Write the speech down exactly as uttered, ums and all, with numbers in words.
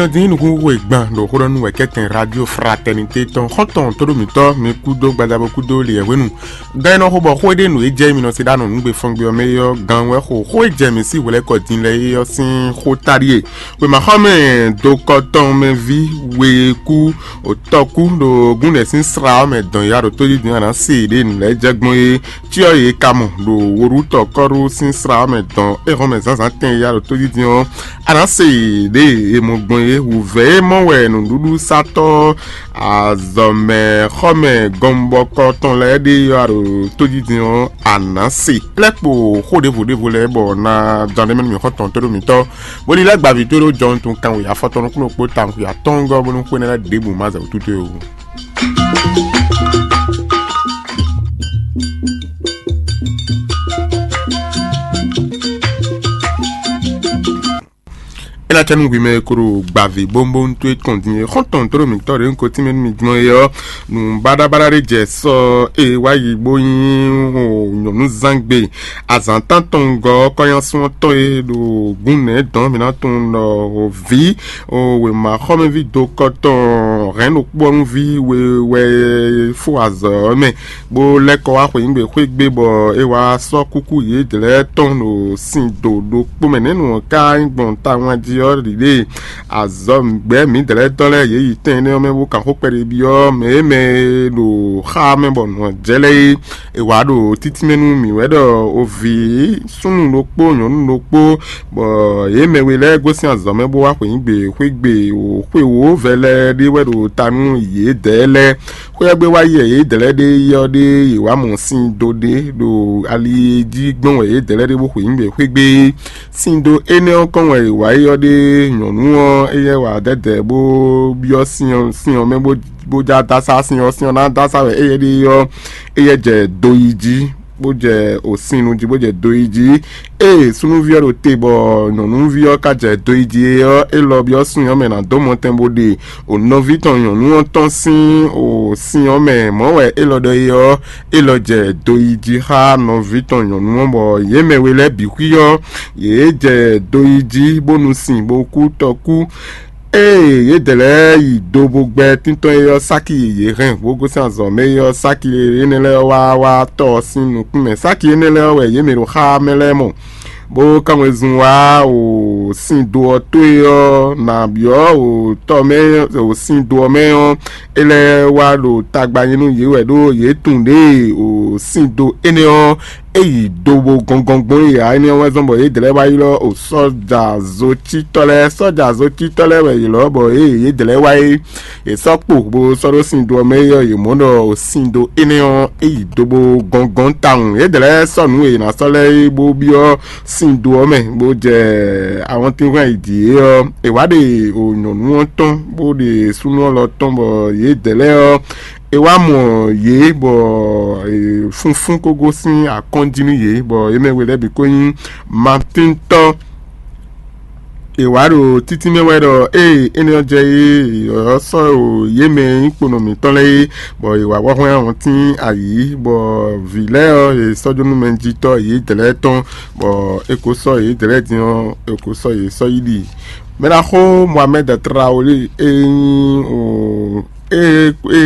Nɔ dín nukúnxó e gban ɖo xó ɖɔ nú wɛ kɛ́tɛn Radio Fraternité tɔn xɔ́ntɔn tóɖó mǐtɔn mi kúdó gbadabo kúdó liɛ̌hwenu. Gan e nɔ xo bɔ xó e ɖe nǔ e jɛ mi nɔ se ɖó anɔ nǔgbefɔngbe ɔ́ mɛ é ɔ́, gan wɛ xo xó e jɛ mǐ sí hwelɛ́kɔ din lɛ́ɛ é ɔ́ sín xó ta ɖíe. Wěmaxɔmɛ dokɔtɔn mɛ ví we e kú òtɔ́kú ɖo gúnɖɛ sín sra ɔ́ mɛ dɔn ya ɖo tójijǐ a nǎ se ɖě nǔ lɛ́ɛ jɛ gbɔn é. Cyɔ yě ka mɔ ɖo woɖutɔ́ kɔ́ɖu sín sra ɔ́ mɛ dɔn é hɔn mɛ zǎnzǎn tɛn ya ɖo tójijǐ ɔ́, a nǎ se ɖě e mɔ gbɔn é. Wǔvɛ́ e mɔ wɛ nǔɖuɖusatɔ́ azɔ̌mɛxɔmɛ gɔnbɔkɔ tɔn lɛ́ɛ ɖe yɔ ɖo tójijǐ ɔ́, a nǎ se. Lɛ́ kpo xó ɖěvo ɖěvo lɛ́ɛ bɔ ná dán ɖé mɛ nú mǐ xɔ tɔn tó ɖo mǐtɔn, bó ní lɛ́ gba vǐ towe ɖó jɔhɔn tɔn kanwe afɔtɔn nukúnnú kpó tawun xwe atɔ́ɔ́ngɔ́ bónú xwé énɛ́ lɛ́ɛ ɖěbǔ ma zɛ wǔtú towe ó. É ná cɛ nú hwi mɛ e ko ɖo gbavǐ bónbónú towe tɔn din é. Xɔ́ntɔn tó ɖo mǐtɔn ɖě un ko tínmɛ nú mi gbɔn é ɔ́, nǔ baɖabaɖa ɖé jɛ sɔ e wá yi bó nyí nyɔ̌núzangbe. Azǎn tántɔn gɔ́ kɔ́nyásún ɔ́ tɔn e ɖo gǔn nɛ̌ dɔn mǐ ná tunwun ɖɔ vǐ wěma xɔ́mɛví dokɔtɔn hɛ̌nnu kpɔ́núví we wɛ fó azɔ̌ ɔ́ mɛ, bó lɛ́ kɔ wá xweyǐgbe xwé gbe bɔ é wá sɔ́ kúkú yědɛɛ lɛ́ɛ tɔn ɖo sin do ɖokpó mɛ. Nɛ̌ nǔ ɔ́ ka nyí gbɔn tawun jí ɔ́ ɖiɖée? Azɔ̌ gbɛ̌ mǐdɛɛ lɛ́ɛ tɔn lɛ́ɛ yě yi tɛn énɛ́ ɔ́ mɛ bó kan xó kpɛɖé byɔ́ mɛ e mɛ e ɖo xá mɛ bɔ nǔ ɔ́ jɛ lɛ́ɛ é. È wǎ ɖo títí mɛ nú mǐ wɛ ɖɔ o vǐ súnnu ɖokpó nyɔ̌nu ɖokpó, bɔ yě mɛ we lɛ́ɛ gosín azɔ̌ mɛ bó wá xweyǐgbe xwé gbe o xwe wǒ vɛ lɛ́ɛ ɖé wɛ ɖo ta nú yědɛɛ lɛ́ɛ. Xwé ɔ́ gbe wá yi wɛ yědɛɛ lɛ́ɛ ɖe yi ɔ́ ɖe yě wá mɔ sin dó ɖé ɖo ali jí gbɔn wɛ yědɛɛ lɛ́ɛ ɖe bó xweyǐgbe xwé gbe. Sin dó énɛ́ ɔ́ kɔn wɛ è wǎ yi ɔ́ ɖe nyɔ̌nu ɔ́ éyɛ́ wǎ dɛdɛ bó byɔ́ sin ɔ́ sin ɔ́ mɛ bó bó já dásá sin ɔ́, sin ɔ́ ná dásá wɛ éyɛ́ ɖe ɔ́, éyɛ́ jɛ do yi jí, bó jɛ òsin nu jí, bó jɛ do yi jí. Ée súnnuví ɔ́ ɖo te bɔ nyɔ̌nuví ɔ́ ka jɛ do yi jí é ɔ́, é lɔ byɔ́ sin ɔ́ mɛ ná dó mɔtɛn bó ɖe o nɔví tɔn nyɔ̌nu ɔ́ tɔn sín o sin ɔ́ mɛ. Mɔ̌ wɛ é lɔ ɖɔ é ɔ́, é lɔ jɛ do yi jí xá nɔví tɔn nyɔ̌nu ɔ́, bɔ yě mɛ we lɛ́ɛ bǐ xwí ɔ́, yě jɛ do yi jí bónú sin bó kú tɔkú. Ée yědɛɛ lɛ́ɛ yi do bó gbɛ́ tíntɔ́n é ɔ́, sáki e yě hɛn bó gosín azɔ̌ mɛ é ɔ́, sáki énɛ́ lɛ́ɛ wá wá tɔ́ ɔ́ sín nukún mɛ. Sáki énɛ́ lɛ́ɛ wɛ yě mɛ ɖo xá mɛ lɛ́ɛ mɔ, bó kán wezun wá o sin do ɔ́ tó é ɔ́, nǎ byɔ́ o tɔ́ mɛ o sin do ɔ́ mɛ ɔ́, é lɛ́ wá ɖo tagba nyi nú yě wɛ ɖó yě tunwun ɖěe o sin do énɛ́ ɔ́ é yi do bó gɔngɔn gbɔn é ǎ. Énɛ́ ɔ́ wɛ zɔ́n bɔ yědɛɛ lɛ́ɛ wá ylɔ́ o sɔ́ja zocítɔ́ lɛ́ɛ. Sɔ́ja zocítɔ́ lɛ́ɛ wɛ yě lɔ́ bɔ ée yědɛɛ lɛ́ɛ wá é, yě sɔ́ kpo bó sɔ́ ɖó sin do ɔ́ mɛ é ɔ́, yě mɔ ɖɔ o sin do énɛ́ ɔ́ é yi do bó gɔngɔn tawun. Yědɛɛ lɛ́ɛ sɔ́ nǔ e yě ná sɔ́ lɛ́ɛ é bó byɔ́ sin do ɔ́ mɛ, bó jɛ awɔntínhwan yi dǐ é ɔ́, è wǎ ɖe o nyɔ̌nu ɔ́ tɔn, bó ɖe súnnu ɔ́ lɔ tɔn, bɔ yědɛɛ lɛ́ɛ ɔ́, è wá mɔ yě, bɔ funfún ko gosín akɔ́n jí nú yě, bɔ yě mɛ we lɛ́ɛ bǐ ko nyí Matíntɔ́. È wǎ ɖo títí mɛ wɛ ɖɔ ée énɛ́ ɔ́ jɛ é ɔ́ sɔ́ o yě mɛ e nyí kponɔ mǐtɔn lɛ́ɛ é, bɔ è wǎ wá hwlɛ́n awɔntín ayǐ, bɔ vǐ lɛ́ɛ ɔ́, è sɔ́ jó nú mɛjitɔ́ yědɛɛ lɛ́ɛ tɔn, bɔ è ko sɔ́ yědɛɛ lɛ́ɛ din ɔ́, è ko sɔ́ yě sɔ́ yi ɖi. Mɛ ɖaxó Mohamed Traoré e nyí o e e